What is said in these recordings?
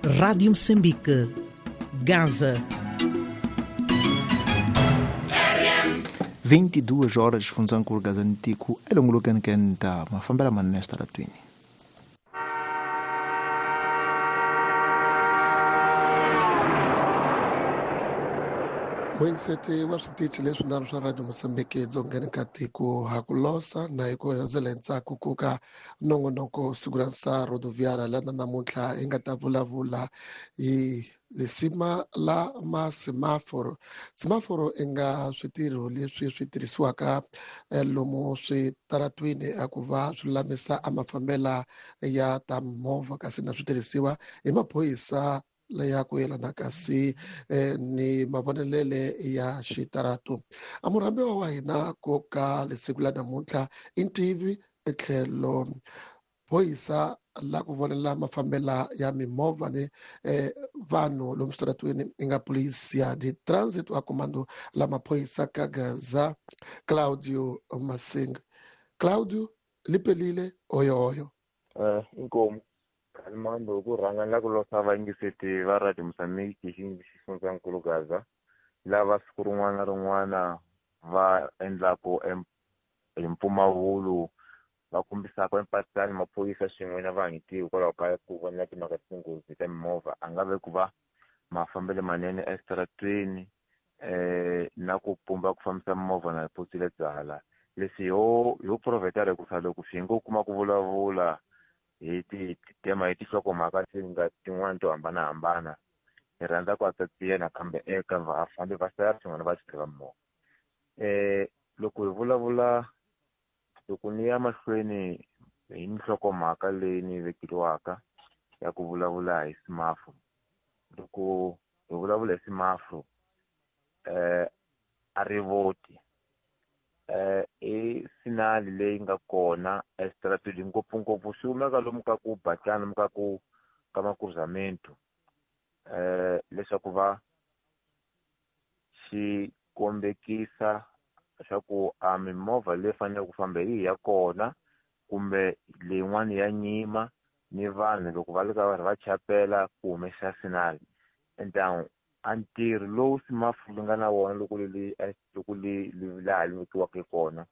Rádio Moçambique, Gaza. 22 horas xifundzankulu Gaza-Ntiku elongolokeni kenta mafambela manene esitaratwini. Muyingiseti wa switichi leswinharhu swa Radio Mozambique edzongeni ka tiko ha ku losa na hi ku hundzela ntsako ku ka nongonoko siku ra nsa rodoviara lana namuntlha hi nga ta vulavula hi lisima la masemaforo. Semaforo i nga switirho leswi swi tirhisiwaka lomu switaratwini a ku va swi lulamisa a mafambela ya ta movha, kasi na switirhisiwa hi maphorisa leya ku yelana kasi ni mavonelele ya xitarato. A murhambiwa wa hina ko ka lesiku la namuntlha i ntivi etlhelo phorisa la ku vonela mafambela ya mimovha ni vanhu lomu switaratweni i nga Polícia de Trânsito a comando la maphorisa ka Gaza, Claudio Masinga. Claudio, lipelile oyo oyo. Inkomu Kalimambo, ku rhanga ni la ku losa vayingiseti va Radio Mozambique xifundzankulu Gaza, lava siku rin'wana na rin'wana va endlaku hi mpfumawulo va kombisaka empatani maphorisa swin'we na vanhu hikwalaho ka ku vona timhaka ta tinghozi ta mimovha, a nga ve ku va mafambelo manene esitaratweni na ku pumba ku fambisa mimovha na phosile byala. Leswi ho provheta hikusa loko swi ngo kuma ku vulavula hi ti-tema hi tinhlokomhaka ti nga tin'wani to hambanahambana, hi rhandza ku atsatsiya nakambe eka vafambi va sala swin'we na vachayeri va mimovha. Loko hi vulavula, loko ni ya mahlweni hi nhlokomhaka leyi ni vekeriwaka ya ku vulavula hi semaforo, loko hi vulavula hi semaforo, a rivoti i sinali leyi nga kona esitarateni, ngopfungopfu swi humeka lomu ka ku batlana lomu ka ku ka makruzamento, leswaku va xi kombekisa swa ku a mimovha leyi faneleke ku famba hi ya kona kumbe leyin'wani ya nyima, ni vanhu loko va le ka vanhu va chapela ku humesa sinali. Entamu a ntirho lowu semaforo li nga na wona loko li loko li laha li vekiwaka kona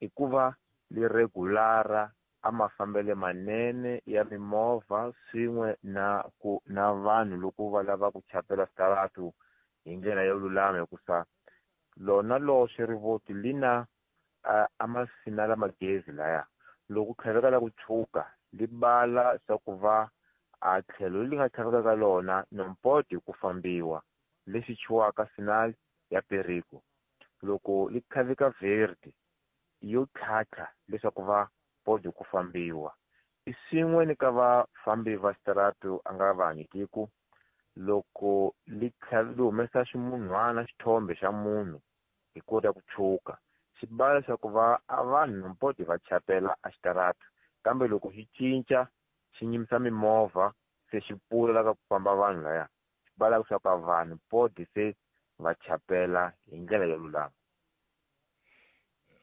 i ku va li regulara a mafambelo manene ya mimovha swin'we na ku na vanhu loko va lava ku chapela switaratu hi ndlela yo lulama, hikusa lona loxe rivoti li na a masinala magezi laya loko ku tlhaveka la ku tshuka li bala swa ku va a tlhelo leri nga tlhaveka ka lona nompoti ku fambiwa, lexi chuwaka sinal ya perigo. Loko li tlhaveka verde yo tlhatlha leswaku va podi ku fambiwa. I swin'we ni ka vafambi va xitarato a nga va tiko, loko li li humesa ximunhwana xithombe xa munhu hi kota ku tshuka, xi bala leswaku va a vanhu nompoti va chapela a xitarato, kambe loko xi cinca xi nyimisa mimovha se xi pfula la ka ku famba vanhu laya, xi bala leswaku a vanhu podi se va chapela hi ndlela yo lulama.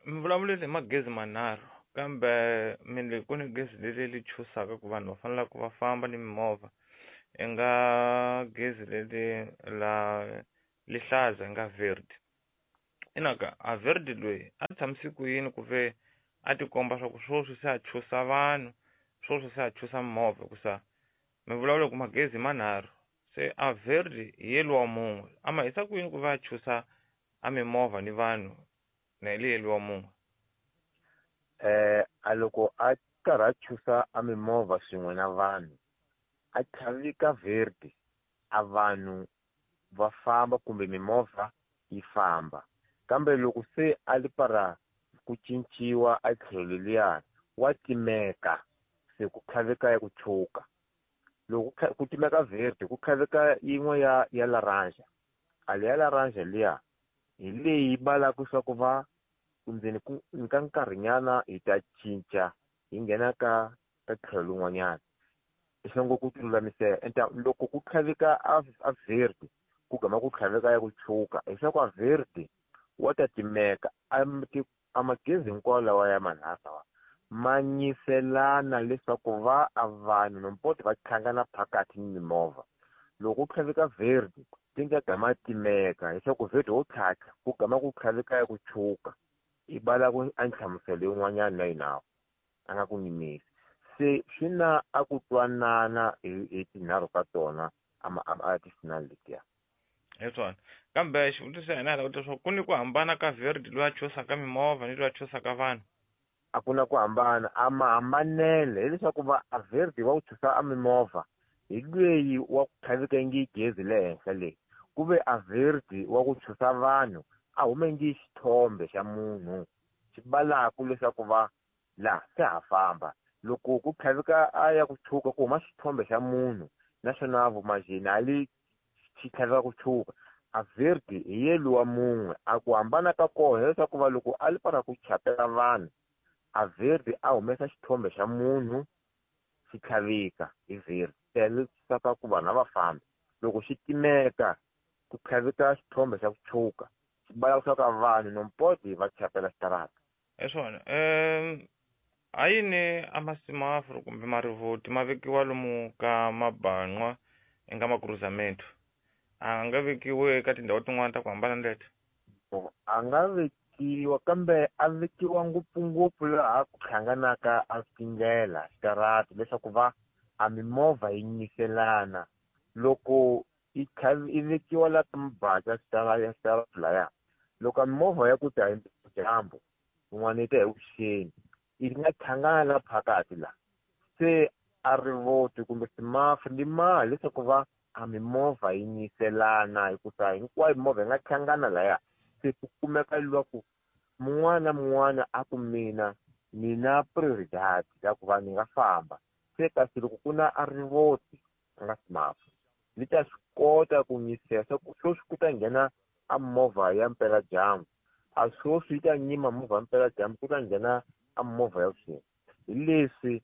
Mi vulavulile hi magezi manharhu, kambe mi le ku ni gezi leri li chusaka ku vanhu va fanele ku va famba ni mimovha, i nga gezi leri la lihlaza nga verde. Inaka a verde loyi a tshamise ku yini ku ve a tikomba swa ku swoswi se a chusa vanhu, swoswi se a chusa mimovha, hikusa mi vulavula ku magezi manharhu, se a verde hi yeliwa mun'we, a ma hisa ku yini ku va a chusa a mimovha ni vanhu na hi yeliwa mun'we? A loko a karhi a chusa a mimovha swin'we na vanhu, a tlhavika verde, a vanhu va famba kumbe mimovha yi famba, kambe loko se a li para ku cinciwa a tlhelo leliya wa timeka, se ku tlhaveka ya ku tshuka. Loko ku timeka verde, ku tlhaveka yin'we ya laranja. A leya laranja liya hi leyi balaka swa ku va ndzeni ku ka nkarhinyana hi ta cinca hi nghena ka tlhelo lin'wanyana, leswi ku ti lulamisela. Enta loko ku tlhaveka a verde, ku gama ku tlhaveka ya ku tshuka, leswaku a verde wa ta timeka. A magezi hinkwawo lawa ya manharhu lawa ma nyiselana leswaku va a vanhu nompoto va tlhangana phakathi ni mimovha. Loko ku tlhaveka verde ti nga gama timeka leswaku verde wo tlhatlha ku gama ku tlhaveka ya ku tshuka i bala ku a nhlamuselo yin'wanyana na yinawo a nga ku nyimisi. Se swi na a ku twanana hi tinharhu ka tona a ti-signal letiya. Hi swona. Kambe xivutiso xa hina hi lava ku leswaku ku ni ku hambana ka verde loyi a chusaka mimovha ni loyi a chusaka vanhu. A ku na ku hambana, a mahambanele hileswaku va a verde wa ku chusa a mimovha hi lweyi wa ku tlhaveka ngi gezi le henhla leyi, ku ve a verde wa ku chusa vanhu a hume ngi xithombe xa munhu xi balaku leswaku va la se ha famba. Loko ku tlhaveka a ya ku tshuka ku huma xithombe xa munhu naswona vumajini a li xi tlhaveka ku tshuka. A verde hi ye luwa mun'we, a ku hambana ka kona hileswaku va loko a li para ku chapela vanhu a verde a humesa xithombe xa munhu xi tlhaveka hi verde leswaku ku vanhu a va fambi. Loko xi timeka ku tlhaveka xithombe xa ku tshuka xi bala leswaku vanhu nompoti va chapela xitarata. Hi swona. Ha yini a masimaforo kumbe marivoti ma vekiwa lomu ka maban'wa eka makruzamento? A nga vekiwi eka tindhawu tin'wana ta ku hambana ni leti? A nga vekiwa, kambe a vekiwa ngopfungopfu laha ku hlanganaka a tindlela xitarata leswaku va a mimovha yi nyiselana. Loko yi vekiwa la ka mabaca xitarata laya, loko a mimovha ya ku ta hi dyambu yin'wana yi ta hi vuxeni yi nga hlangana la phakathi la, se a rivoti kumbe simaforo li mali leswaku va a mimovha yi nyiselana, hikusa hinkwayo mimovha yi nga hlangana laya. Se ku kumeka lwaku mun'wana na mun'wana a ku mina ni na prioridad ya ku va ni nga famba. Se kasi loko ku na a rivoti a nga simaforo li ta swi kota ku nyisela swa ku sweswi ku ta nghena a movha ya mpeladyambu, a sweswi yi ta nyima movha ya mpeladyambu ku ta nghena a movha ya vuxeni. Hi leswi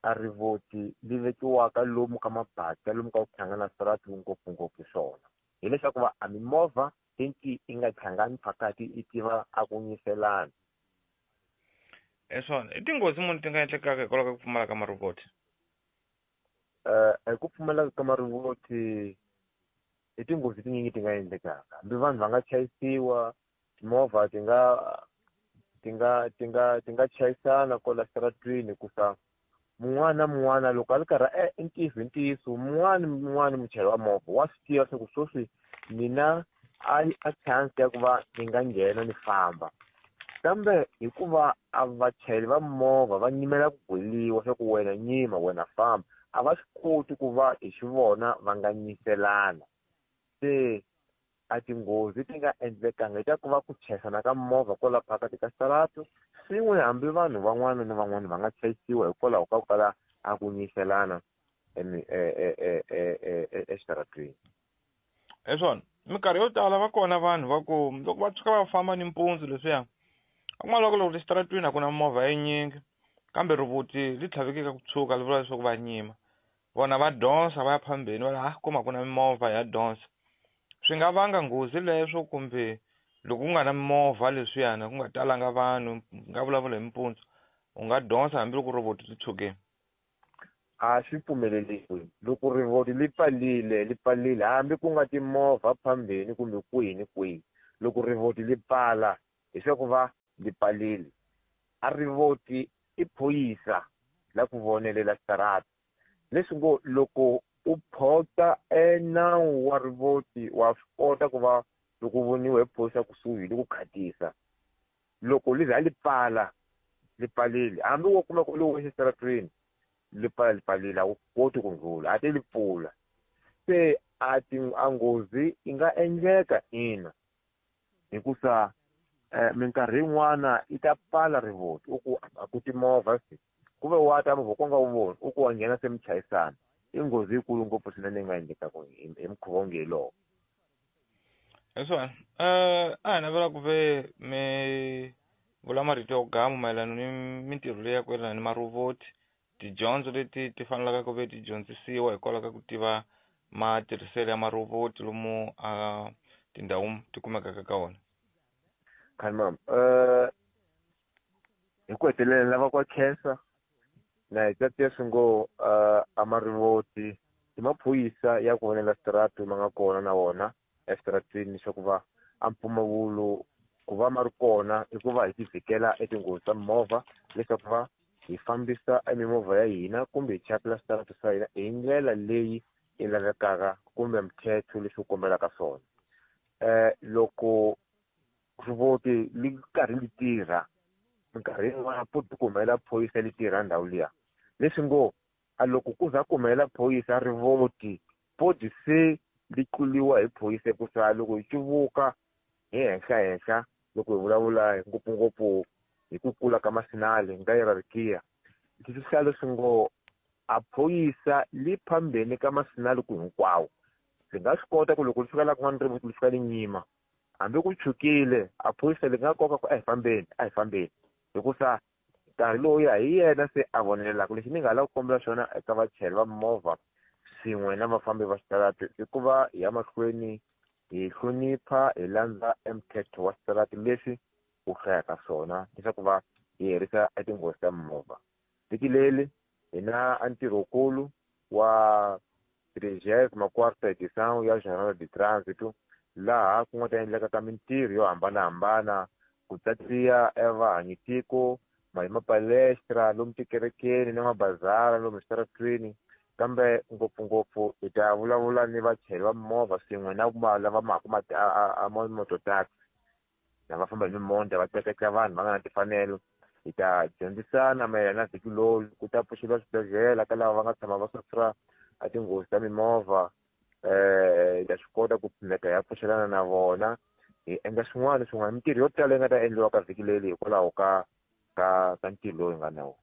a rivoti li vekiwaka lomu ka mabata lomu ka ku hlangana switarata ngopfungopfu swona, hileswaku va a mimovha tinki yi nga hlangani phakathi yi tiva a ku nyiselana. Hi swona. I tinghozi muni ti nga endlekaka hikwalaho ka ku pfumala ka marivoti? Hi ku pfumala ka marivoti i tinghozi tinyingi ti nga endlekaka. Hambi vanhu va nga chayisiwa, timovha ti nga chayisana kwala xitaratwini, hikusa mun'wana na mun'wana loko a ri karhi i ntiyiso hi ntiyiso mun'wana na mun'wana muchayeri wa movha wa swi tiva leswaku sweswi mina a chance ya ku va ni nga nghena ni famba, kambe hikuva a vachayeri va movha va nyimela ku gweliwa swa ku wena nyima wena famba, a va swi koti ku va hi xivona va nga nyiselana. Se a tinghozi ti nga endlekanga hi ta ku va ku chayisana ka movha kwala phakathi ka xitarata, swin'we hambi vanhu van'wana na van'wana va nga chayisiwa hikwalaho ka ku kala a ku nyiselana exitaratweni. Hi swona. Minkarhi yo tala va kona vanhu va ku loko va tshuka va famba nimpundzu leswiya, a kuma loko loko exitaratweni a ku na movha yinyingi, kambe rivoti li tlhavekeka ku tshuka li vula leswaku va nyima. Vona va donsa va ya phambeni va ha kuma ku na mimovha ya donsa. Swi nga vanga nghozi leswo, kumbe loko ku nga na mimovha leswiyana ku nga talanga vanhu, nga vulavula hi mpundzu, u nga donsa hambiloko rivoti ri tshukile. A swi pfumeleriwi. Loko rivoti li pfalile, li pfalile hambi ku nga timovha phambeni kumbe kwihi ni kwihi, loko rivoti li pfala hileswaku va li pfalile. A rivoti i phorisa la ku vonelela xitarata, leswi ngo loko u phota enawu wa rivoti wa swi kota ku va loko u voniwa hi phorisa kusuhi li ku khatisa. Loko li za li pfala li pfalile, hambi wo kuma ku li wexe xitaratweni li pfala li pfalile, a wu koti ku ndlhula, a ti li pfula. Se a ti a nghozi yi nga endleka ina, hikusa minkarhi yin'wana yi ta pfala rivoti u ku a ku timovha se ku ve wa ta movha ku nga wu voni u ku wa nghena se mi chayisana. I nghozi yikulu ngopfu swinene yi nga endlekaka hi mukhuva wonge hi lowo. Hi swona. A hi navela ku ve mi vula marito yo gama mayelana ni mintirho leyi ya ku yelana ni marivoti, tidyondzo leti ti fanelaka ku ve ti dyondzisiwa hikwalaho ka ku tiva matirhiselo ya marivoti lomu a tindhawu ti kumekaka ka wona. Khanimam, Hi ku hetelela lava kwa khensa na hi tatiya swi ngo a marivoti i maphorisa ya ku vonela switaratu ma nga kona na wona eswitarateni leswaku va a mpfumawulo ku va ma ri kona i ku va hi tivhikela etinghozi ta mimovha, leswaku va hi fambisa emimovha ya hina kumbe hi chapela switaratu swa hina hi ndlela leyi yi lavekaka kumbe mthetho leswi wu kombelaka swona. Loko rivoti li karhi li tirha minkarhi yin'wana futhi ku humelela phorisa li tirha ndhawu liya, leswi ngo a loko ku za ku humelela phorisa rivoti podi se li tluliwa hi phorisa, hikusa loko hi cuvuka hi henhla henhla loko hi vulavula ngopfungopfu hi ku kula ka masinali nga hierarchy, leswi swi hlaya leswi ngo a phorisa li phambeni ka masinali ku hinkwawo. Li nga swi kota ku loko li fika la kun'wana rivoti li fika li nyima, hambi ku tshukile a phorisa li nga koka ku a hi fambeni, a hi fambeni, hikusa nkarhi lowuya hi yena se a vonelelaka. Lexi ni nga lava ku kombela xona eka vachayeri va mimovha swin'we na vafambi va switarati i ku va hi ya mahlweni hi hlonipha, hi landza emthetho wa switarati leswi wu hlayaka swona leswaku va hi herisa etinghozi ta mimovha. Vhiki leri hi na a ntirhokulu wa trigésima quarta edição ya Jornada de Trânsito, laha ku nga ta endleka ka mintirho yo hambanahambana, ku tsatsiya evahanyitiko, hi mapalestra lomu tikerekeni na mabazara lomu switaratwini, kambe ngopfungopfu hi ta vulavula ni vachayeri va mimovha swin'we na lava maku a mototaxi lava famba hi mimovha va tleketla vanhu va nga na timfanelo. Hi ta dyondzisana mayelana na vhiki lowu ku ta pfuxeriwa swibedhlele ka lava va nga tshama va sufra a tinghozi ta mimovha. Hi ta swi kota ku pfuneka hi ya pfuxelana na vona, hi endla swin'wana na swin'wana, mintirho yo tala yi nga ta endliwa ka vhiki leri hikwalaho ka ntirho lowu hi nga na wona.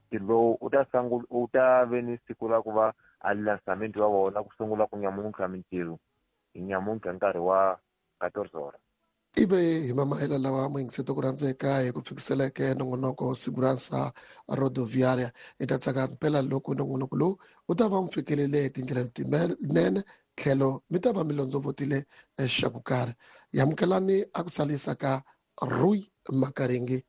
Ntirho lowu u ta sungula, u ta ve ni siku ra ku va a lançamento wa wona ku sungula ku nyamuntlha mintirho hi nyamuntlha nkarhi wa 14 horas. Ive hi mamahela lawa muyingiseti ku rhandzeka hi ku fikiseleke nongonoko Segurança Rodoviária. Hi ta tsaka mpela loko nongonoko lowu wu ta va mu fikelele hi tindlela letinene, tlhelo mi ta va mi londzovotile xa ku karhi. Yamukelani a ku salisa ka Rui Makaringi.